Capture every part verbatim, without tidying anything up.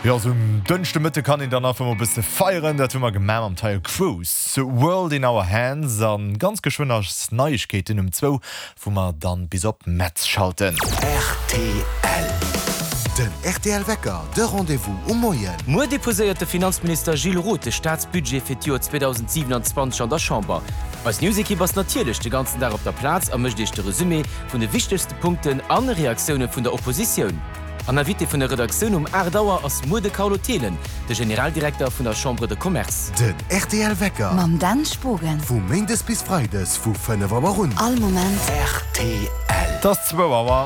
Jo, sou um Dënschdemëtte kann een dann einfach mol e bësse feieren. Dat hu mer gemaach mam Taio Cruz, World in Our Hands. An ganz geschwënn ass Neiegkeeten um zwou, wou mer dann bis op Metz schalten. Rtl. Den rtl Wecker, de Rendez-vous um Moien. Muer deposéiert de Finanzminister Gilles Roth de Staatsbudget fir d'Joer zweedausendsiwenanzwanzeg an der Chamber. Eis News-Ekipp ass natierlech de ganzen Dag op der Plaz a mécht Iech de Resumé vun de wichtegste Punkten an Reaktioune vun der Oppositioun. An Invité vun der Redaktioun um aacht Auer ass muer de Carlo Thelen, de Generaldirekter vun der Chambre de Commerce. Den rtl Wecker. Mam Dan Spogen. Vu Méindes bis Freides vu fënnef Auer un. All Moment. Rtl. Et ass zwou Auer.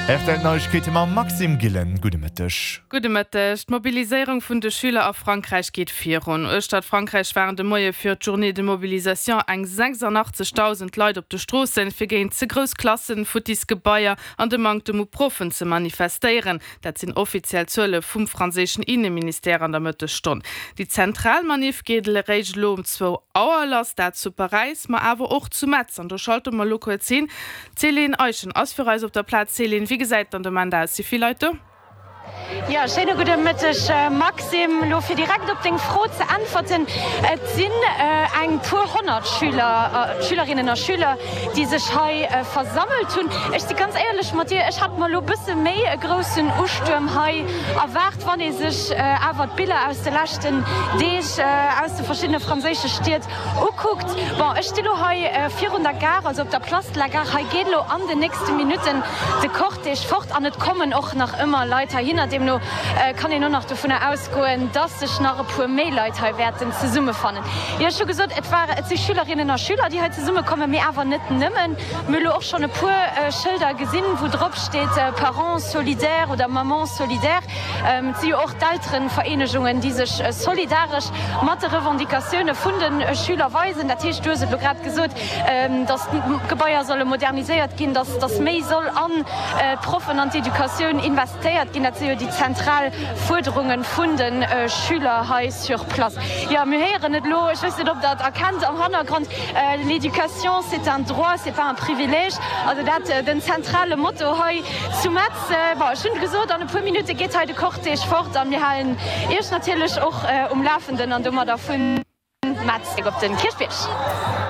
Rtl Neiegkeete mam Maxime Gillen. Gudde Mëtteg. Gudde Mëtteg. D'Mobiliséierung vun de Schüler a Frankräich geet virun. Uechtert Frankräich waren de Moie fir d'Journée de mobilisation eng sechsundachtzegdausend Leit op de Stroossen, fir géint ze grouss Klassen, futtis Gebaier an de Manktem u Proffen ze manifestéieren. Dat sinn offiziell Zuele vum franséischen Inneministère an der Mëttesstonn. Déi zentral Maniff geet eréischt elo um zwou Auer lass, dat zu Paräis, ma awer och zu Metz. An do schalte mer elo kuerz hin. D'Céline Eischen ass fir eis op der Plaz. Céline, wéi gesäit dann de Moment aus? Si vill Leit do? Jo, schéine gudde Mëtteg Maxime. Elo fir direkt op deng Fro ze äntwerten, et sinn eng puer honnert Schüler, Schülerinnen a Schüler, déi sech hei versammelt hunn. Ech si ganz éierlech mat dir, ech hat mer elo bësse méi e groussen Ustuerm hei erwaart. Wann ee sech awer d'Biller aus de leschten Deeg aus de verschiddene franséische Stied ukuckt. Bon, ech sti lo hei virun der Gare, also op der Place de la Gare. Hei geet elo an den nächste Minutten de Cortège fort an et kommen och nach ëmmer Leit heihinner. Deemno kann een och nach dovunner ausgoen, dass sech nach e puer méi Leit hei wäerten zesummefannen. Jo, ech hu gesot, et war, et si Schülerinnen a Schüler, déi hei zesummekommen, mee awer net nëmmen. Mir hu lo och schonn e puer Schëlder gesinn, wou drop steet Parents solidaires oder Mamans solidaires. Et si jo och d'Elterenvereenegungen, déi sech solidaresch mat de Revendicatioune vun de Schüler weisen. Dat heescht, du hues et elo grad gesot, datt d'Gebaier solle moderniséiert ginn, datt méi soll an d'Proffen, an d'Educatioun investéiert ginn. Dat si jo déi zentral Fuerderunge vun de Schüler hei sur place. Jo, mir héieren et elo, ech weess net, ob Der et erkennt am Hannergrond, L'éducation, c'est un droit, c'est pas un privilège. Also dat den zentrale Motto hei zu Metz. Bon, ech hunn gesot, an e puer Minutte geet hei de Cortège fort a mir halen Iech natierlech och um Lafenden an domadder vun Metz op den Kierchbierg.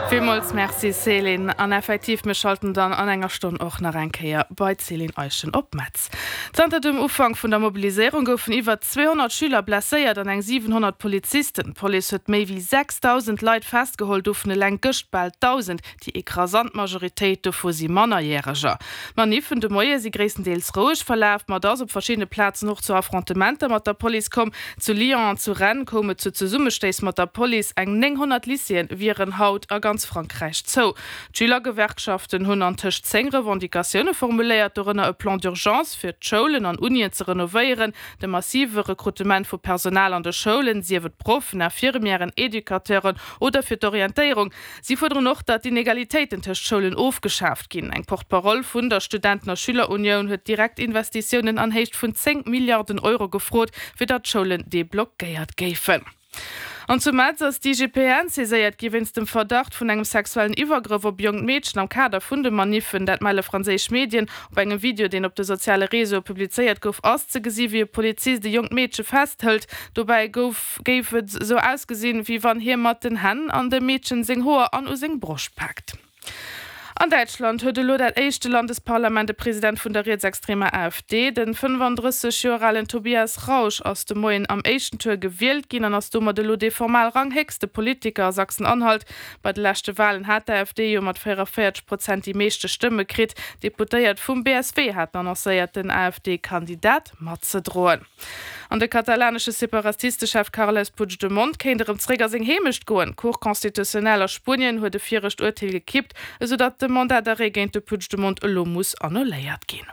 Villmools Merci Céline. An effektiv, mir schalten dann an enger Stonn och nach eng Kéier bei d'Céline Eischen op Metz. Zanter dem Ufank vun der Mobiliséierung goufen iwwer zweehonnert Schüler blesséiert an eng siwenhonnert Polizisten. D'Police huet méi wéi sechsdausend Leit festgeholl, dovun eleng gëscht bal dausend. Déi ekrasant Majoritéit dovu si Mannerjäreger. D'Maniffen de Moie si gréisstendeels roueg verlaf, ma et ass op verschiddene Plazen och zu Affrontementer mat der Police komm. Zu Lyon an zu Rennes koum et zu Zesummestéiss mat der Police. Eng nénghonnert Lycéeë wieren haut a ganz Frankräich zou. D'Schülergewerkschaften hunn an tëscht zéng Revendicatioune formuléiert, dorënner e Plan d'urgence fir d'Schoulen an Unien ze renovéieren, de massive Rekrutement vu Personal an de Schoulen, sief et Proffen, Infirmièren, Educateuren oder fir d'Orientéierung. Si fuerderen och, datt d'Inegalitéiten tëscht Schoulen ofgeschaaft ginn. Eng Porte-parole vun der Studenten a Schülerunioun huet direkt Investitiounen an Héicht vun zéng Milliarden Euro gefrot, fir datt d'Schoulen deblockéiert géifen. An zu Metz ass d'I G P N saiséiert gi wéinst dem Verdacht vun engem sexuellen Iwwergrëff op e jonkt Meedchen am Kader vun de Maniffen. Dat melle franséisch Medien. Op engem Video, deen op de soziale Reseaue publizéiert gouf, ass ze gesi wéi e Polizist e jonkt Meedche festhëlt. Dobäi gouf géif et esou ausgesinn, wéi wann hie mat den Hänn an dem Meedchen seng Hoer an u seng Broscht paakt. An Däitschland huet elo dat éischte Landesparlament e President vun der rietsextremer A F D. Den fënnefandrësseg Joer alen Tobias Rausch ass de Moien am éischten Tour gewielt ginn an ass domat elo dee formal ranghéchste Politiker a Sachsen-Anhalt. Bei de leschte Walen hat d'A F D jo mat véierundavéierzeg Prozent déi meeschte Stëmme kritt. Deputéiert vum B S W haten annoncéiert, den A F D-Kandidat matzedroen. An de katalanesche Separatistechef Carles Puigdemont kéint erëm zeréck a seng Heemecht goen. D'Cour constitutionnelle a Spuenien huet e virecht Urteel gekippt, esou datt de Mandat d'arrêt géint de Puigdemont elo muss annuléiert ginn.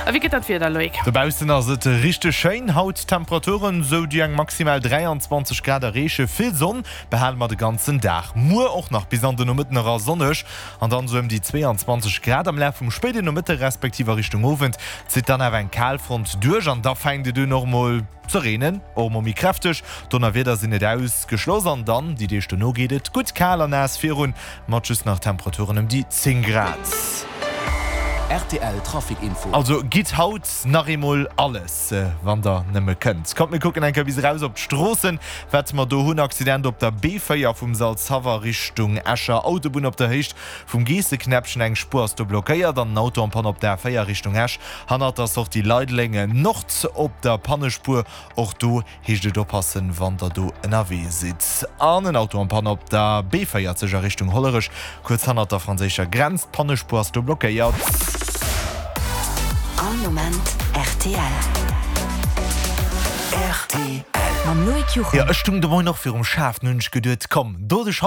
A wéi gëtt dat Wieder, Loïc? Dobaussen ass et richteg schéin haut, Temperaturen sou déi eng maximal dräianzwanzeg Grad erreechen. Vill Sonn behale mer de ganzen Dag, muer och nach bis an de Nomëtten era sonneg an dann sou ëm déi zweeanzwanzeg Grad. Am Laf vum spéiden Nomëtte respektiv a Richtung Owend zitt dann awer eng Kalfront duerch an da fänkt et un och mol ze reenen, och mol méi kräfteg. Donnerwieder sinn net ausgeschloss an dann déi Deeg dono geet et gutt kal an naass virun, mat just nach Temperaturen ëm déi zéng Grad. Rtl Trafic Info. Also gitt haut nach eemol alles, wann der nëmme kënnt. Kommt mir kucken eng Kéier bis eraus op d'Stroossen, wat mer do hunn. Accident op der B véier vum Salzhaff Richtung Escher Autobunn op der Héicht vum Geesseknäppchen, eng Spuer ass do blockéiert an en Auto en Panne op der A véier Richtung Esch hannert der Sortie Leideleng Nord op der Pannespuer. Och do heescht et oppassen, wann der do ënnerwee sidd. An en Auto en Panne op der B véierzeg a Richtung Hollerech, kuerz hannert der franséischer Grenz. D'Pannespuer ass do blockéiert. All Moment rtl. Rtl. Mam Loïc Juchem. Jo, ech stung de Moien och virum Schaf, nun hunn ech geduet, komm, do de.